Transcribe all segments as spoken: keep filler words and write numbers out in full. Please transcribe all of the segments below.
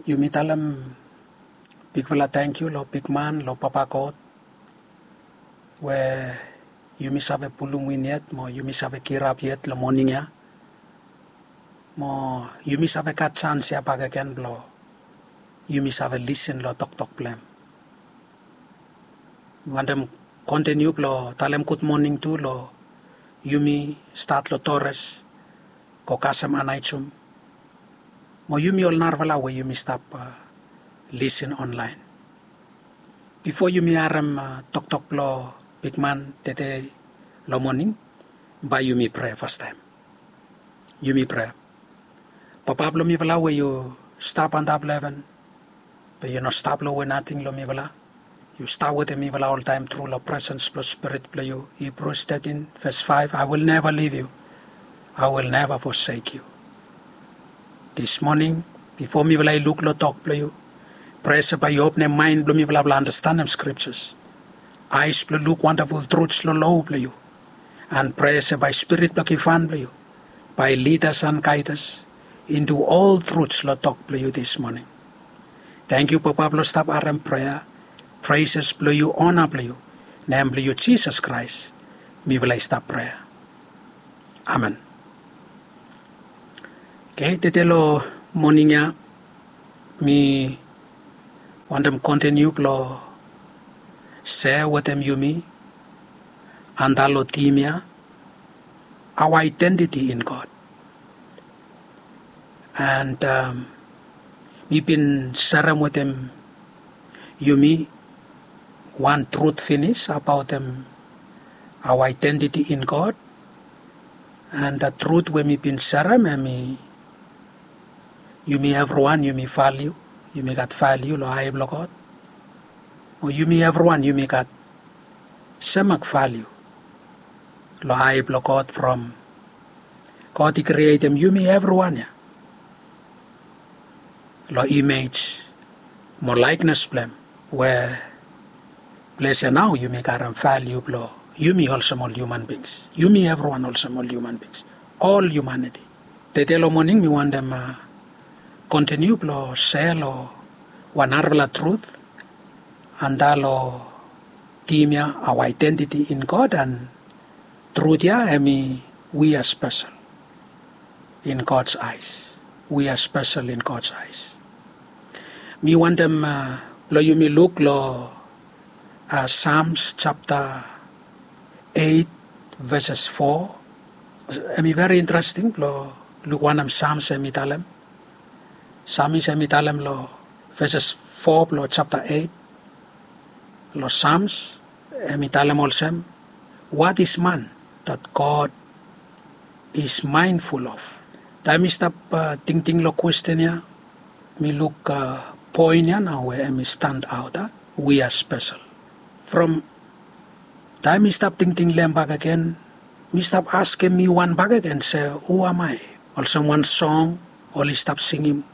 Yumi talem bigfala tangkiu long bigman, long Papa God, we yumi save pulum win yet mo yumi save kirap yet long moning ya, mo yumi save gat sans ya bakegen blong yumi save lisin long toktok blong hem. Mi wantem kontiniu blong talem gud moning tu long yumi stat long Torres, go kasem Anaijum, mo yumi ol narafala we yumi stap lisin onlaen. Bifo yumi harem toktok blong bigman tede long moning, bae yumi prea fastaem. Yumi prea. Papa blong mifala we yu stap antap long heven, be yu no stap lowe nating long mifala. Yu stap wetem mifala oltaem tru long presens blong Spirit blong yu. Hebrews thirteen verse five, "I will never leave you. I will never forsake you." This morning, bifo mifala i luk long tok blong yu, prea se bae yu openem maen blong mifala blong andastanem scriptures, aes blong luk wandaful truths long lo blong yu, and prea se bae Spirit blong givhan blong yu bae lead us and guide us into all truths long tok blong yu this morning. Tangkiu Papa blong stap harem prea, praises blong yu, ona blong yu, nem blong yu Jisas Kraes mifala i stap prea. Amen. Oke, tede long moning ya mi wantem kontiniu blong sea wetem yumi antap long tim ya, our identity in God. And mi bin serem wetem yumi wan truth finis abaotem our identity in God. And the truth we mi bin serem hemi, yumi evriwan yumi valiu, yumi gat valiu long ae blong God. O yumi evriwan yumi gat semak valiu long ae blong God from God i krietem yumi evriwan ya long image mo likeness blong hem, we ples ya nao yumi karem valiu blong yumi olsem ol human beings. Yumi evriwan olsem ol human beings, ol humanity. Tede long moning mi wantem kontiniu blong sea long wan narafala truth antap long tim ya, our identity in God, and truth ya hemi we are special in God's eyes. We are special in God's eyes. Mi wantem blong yumi luk long Psalms chapter eight verses four. Hemi very interesting blong luk wanem Psalms hemi talem. Psalms hemi talem long verses four blong chapter eight. Long Psalms hemi talem olsem, "What is man that God is mindful of?" Taem mi stap tingting long kwesten ya, mi luk poen ya nao we hemi stand aot, a, we are special. From taem mi stap tingting long hem bakegen, mi stap askem mi wan bakegen se, "Who am I?" Olsem wan song oli stap singim,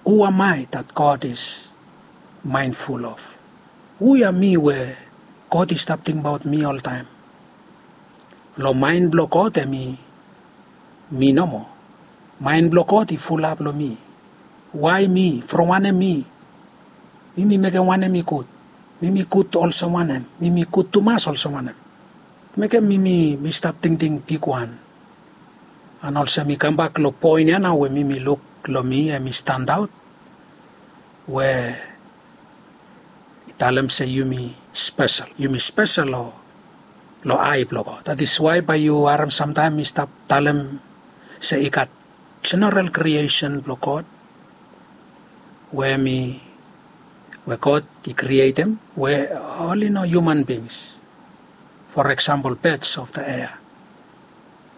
"Who am I that God is mindful of?" Hu ya mi we God i stap tingbaot mi oltaem? Long maen blong God hemi mi nomo. Maen blong God i fulap long mi. Wae mi? From wanem mi? Mi mi mekem wanem i gud? Mi mi gud olsem wanem? Mi mi gud tumas olsem wanem? Mekem mi mi mi stap tingting bigwan. And olsem mi kambak long poen ya nao we mi mi luk long mi hemi stand aot, we i talem se yumi spesel, yumi spesel long, long ae blong God. That is why bae yu harem samtaem mi stap talem se i gat general creation blong God, we mi, we God i krietem, we oli no human beings. For example, birds of the air,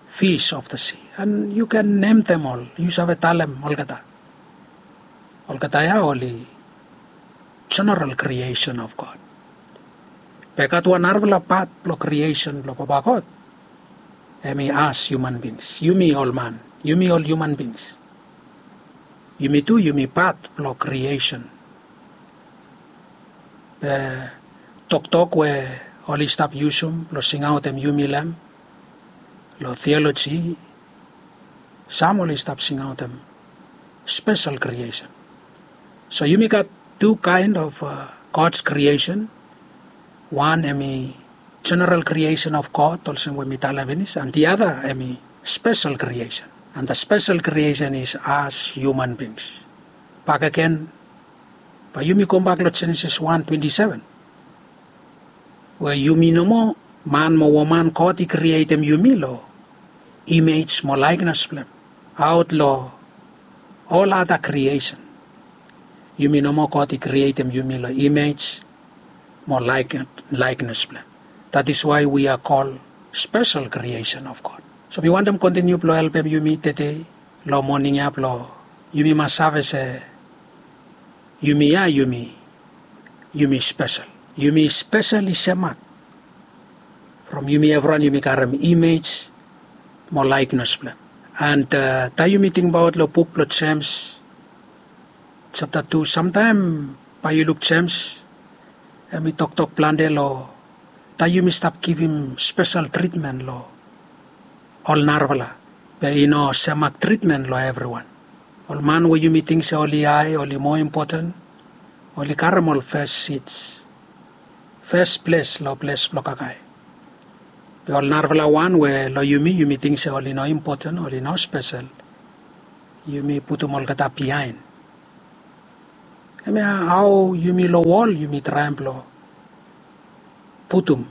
fish of the sea, and yu ken nemtem ol, yu save talem olgeta. Olgeta ya oli general creation of God. Be gat wan narafala pat blong creation blong Papa God, hemi as human beings, yumi ol man, yumi ol human beings. Yumi tu yumi pat blong creation. Be toktok we oli stap yusum blong singaotem yumi long hem, long theology, sam oli stap singaotem special creation. So yumi gat tu kaen of God's creation. Wan em i general creation of God, olsem we mi talem finis, and the other em i special creation. And the special creation is as human beings. Bakegen, bae yumi gobak long Genesis wan twenti seven, we yumi nomo, man mo woman, God i krietem yumi long image mo likeness blong hem. Aot long ol ada creation, yumi nomo, God i krietem yumi long image mo likeness blong hem. That is why we are called special creation of God. So mi wantem kontiniu blong helpem yumi tede long moning ya blong yumi mas save se yumi ya, yumi, yumi spesel. Yumi spesel i semak. From yumi evriwan yumi karem image mo likeness blong hem. And taem yumi tingbaot long buk blong Jems japta tu, samtaem bae yu luk Jems, hem i toktok plante long taem yumi stap givim spesel tritmen long ol narafala, be i no semak tritmen long evriwan. Ol man we yumi ting se oli hae, oli moa impoten, oli karem ol fes sit, fes ples long ples blong kakae. Be ol narafala wan we long yumi, yumi ting se oli no impoten, oli no spesel, yumi putum olgeta biaen. Hemia hao yumi long wol yumi traem blong putum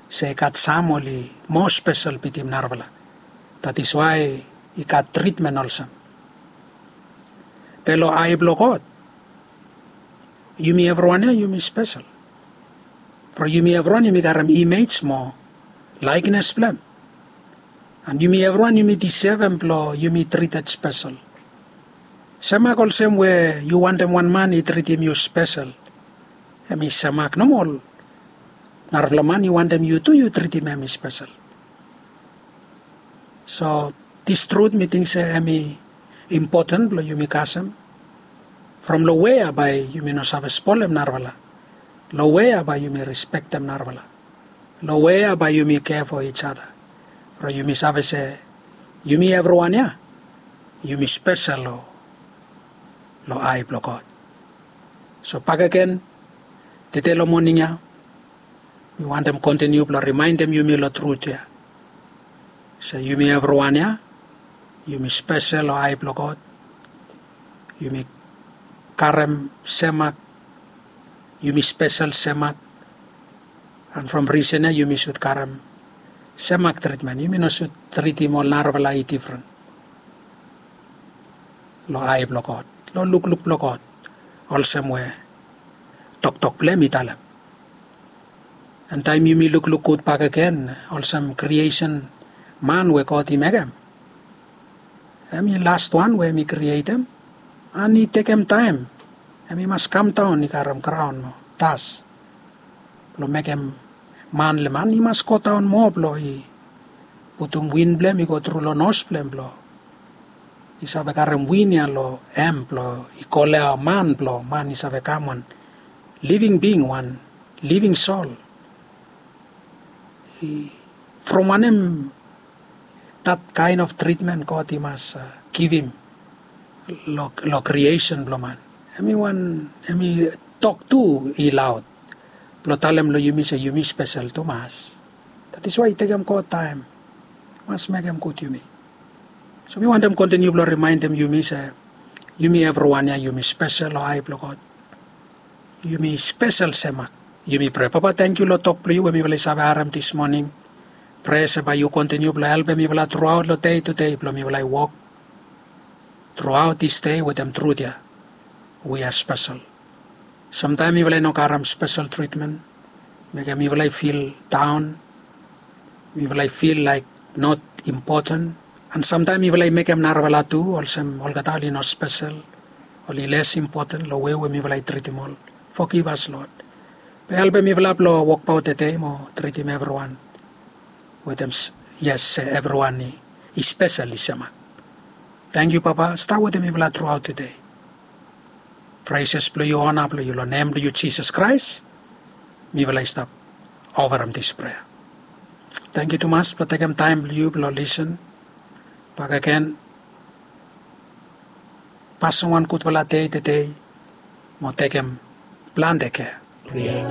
se i gat sam oli moa spesel bitim narafala. That is why i gat tritmen olsem. Be long ae blong God, yumi evriwan ya yumi spesel. From yumi evriwan yumi karem image mo likeness blong hem. And yumi evriwan yumi disevem blong yumi trited spesel. Semak olsem we yu wantem wan man i tritim yu spesel, hem i semak nomo. Narafala man i wantem yu tu yu tritim hem i spesel. So this truth mi ting se hem i impoten blong yumi kasem. From long wea bae yumi no save spolem narafala? Long wea bae yumi rispektem narafala? Long wea bae yumi care for each other? From yumi save se yumi evriwan ya yumi spesel long, long ae blong God. So bakegen, tede long moning ya mi wantem kontiniu blong rimaendem yumi long trut ya se yumi evriwan ya yumi spesel long ae blong God. Yumi karem semak, yumi spesel semak. And from risen ya yumi sud karem semak tritmen. Yumi no sud tritim ol narafala i difren long ae blong God, long lukluk blong God, olsem we toktok blong hem i talem. And taem yumi lukluk gud bakegen olsem kriesen man we God i mekem, hem i lastwan we hem i krietem. And i tekem taem, hem i mas kamdaon i karem graon o das blong mekem man le man. I mas godaon moa blong i putum win blong hem i go tru long nos blong hem blong i save karem win ya long hem blong i kolea man blong man i save kam wan living being, wan living soul. From wanem that kind of treatment God i mas givim long kriesen blong man? Hem i wan, hem i tok tu i laod blong talem long yumi se yumi spesel tumas. That is why i tekem God taem mas mekem gud yumi. So mi wantem kontiniu blong rimaendem yumi se yumi evriwan ya yumi spesel long ae blong God. Yumi spesel semak. Yumi prea. Papa, tangkiu long tok blong yu we mifala i save harem dis moning. Prea se bae yu kontiniu blong helpem mifala truaot long dei tudei blong mifala i wok truaot dis dei wetem trut ya. We are special. Samtaem mifala i no karem spesel tritmen, mekem mifala i fil daon, mifala i fil laek not impoten. And samtaem mifala i mekem narafala tu olsem olgeta oli no spesel, oli les impoten long wei we mifala i tritim ol. Fogivas Lod. Be helpem mifala blong wokbaot tede mo tritim evriwan wetem yes se evriwan i spesel i semak. Tangkiu Papa, stap wetem mifala truaot tede. Preses blong yu, ona blong yu, long nem blong yu Jisas Kraes mifala i stap ofarem dis prea. Tangkiu tumas blong tekem taem blong yu blong lisen bakegen. Pasem wan gudfala dei tede. mo tekem plante kea. Prea.